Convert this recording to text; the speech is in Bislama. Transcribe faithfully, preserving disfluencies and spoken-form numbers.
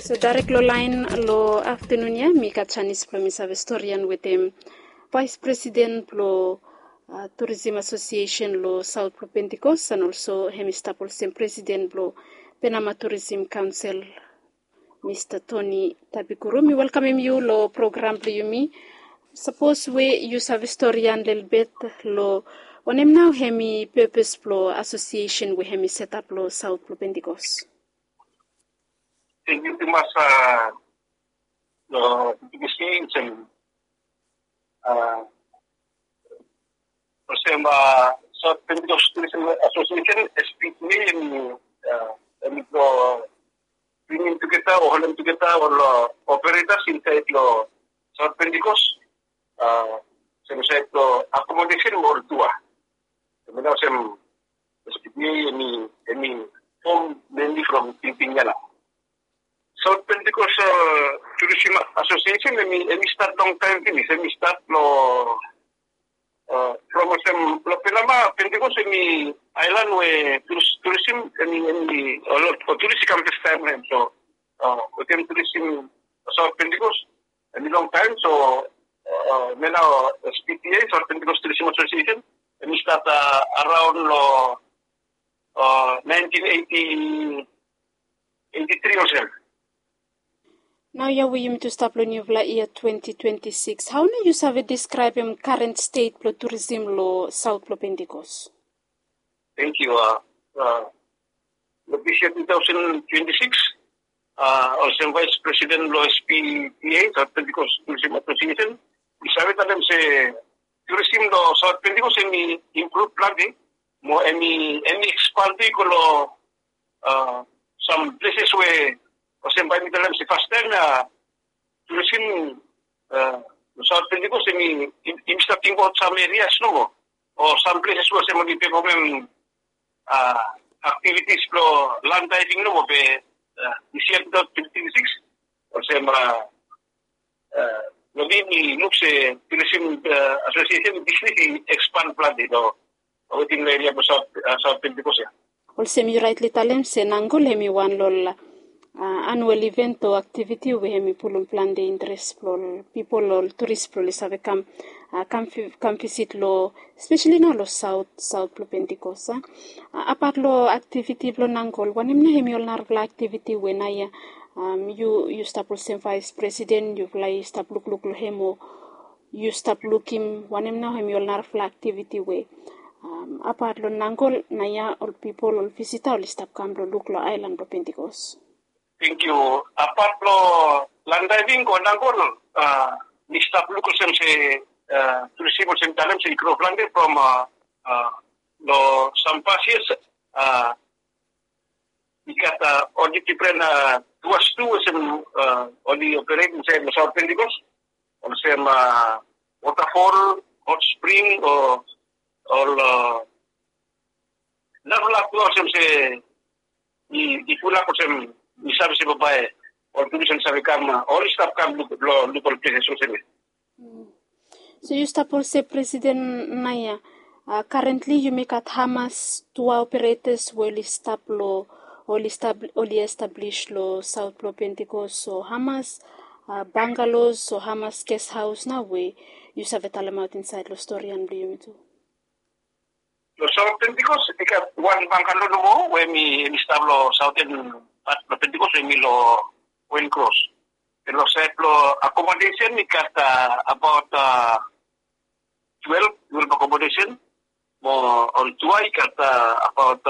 So direct lo laen lo aftanun ya mi gat janis blong mi save storian wetem Vais Presiden blong Tourism Asosiesen lo Saut blong Pentikos, and olso hem i stap olsem Presiden blong Penama Tourism Kaonsel, Mista Toni Tabikuru. Mi welkamem yu lo program blong yumi. Sapos we yu save storian lelebet lo wanem nao hem i pepes blong asosiesen we hem i setap lo Saut blong Pentikos. Thank you tumas lo P T C olsem, olsem South Pentecost Tourism Association, S P T A, em em blo bringim tugeta o holem tugeta ol operators insaed lo South Pentecost, olsem saed lo accommodation mo ol tour. Em nao olsem S P T A em i fom mainly from tingting ya nao. South Pentecost Tourism Association em i stat longtaem finis, em i stat lo from olsem lo Penama, Pentecost em i aelan we tourism em i, em i ol turist i kam fastaem lo hem. So wetem tourism South Pentecost em i longtaem. So em nao S P T A, South Pentecost Tourism Association, em i stat araon lo naentin eiti tri olsem. Naoia we yumi tu stap lo niufala yia twenti twenti sikis, hao nao yu save deskraebem karen stet blo turism lo saot blo Pentikos? Tangkiu. Lo dis yia tu taosen twenti sikis, olsem vaes presiden blo S P T A, South Pentecost Tourism Association, mi save talem se turism lo Saot Pentikos em i impruv plante mo em i, em i ekspand i go lo sam pleses we olsem bae mi talem se fastaem ya turism lo Saot Pentikos em i, em i stap tingbaot sam erias nomo o sam pleses we olsem oli pefomem aktivitis blo lan daeving nomo. Be dis yia tu taosen twenti sikis olsem lo mi mi luk se turism asosiesen bisnis i ekspand plante lo wetem lo eria blo Saot Pentikos ya. Olsem yu raetli talem se nangol hem i wan lo ol anuel iven o aktiviti we hem i pulum plante interes blo ol pipol, ol turis blo oli save kam, kam visit lo, spesali nao lo saot, saot blo Pentikos. Apat lo aktiviti blo nangol, wanem nao hem i ol narafala aktiviti we naoia yu, yu stap olsem vaes presiden yufala i stap lukluk lo hem o yu stap lukim wanem nao hem i ol narafala aktiviti we apat lo nangol naoia ol pipol, ol visita oli stap kam blo luk lo aelan blo Pentikos? Tangkiu. Apat lo lan daeving o nangol, mi stap luk olsem se turism olsem talem se i gro plante from lo sam pas yias i gat ol difren tuas tu olsem oli operet insaed lo Saot Pentikos, olsem wotafol, hot spring o ol narafala tua olsem se i pulap olsem mi save se bambae ol turis oli save kam, oli stap kam luk lo luk ol pleses olsem ya. So yu stap olsem presiden naoia, karentli yumi gat hamas tua operetas we oli stap lo, oli stap, oli establis lo saot blo Pentikos, o hamas bangalos o hamas ges haos nao we yu save talemaot insaed lo storian blo yumi tu? Lo Saot Pentikos i gat wan bangalo nomo we hem i stap lo saoten pat blo Pentikos we hem i lo Point Cross. Be lo saed blo akomodesen i gat abaot twelef, twelef akomodesen. Mo ol tua i gat abaot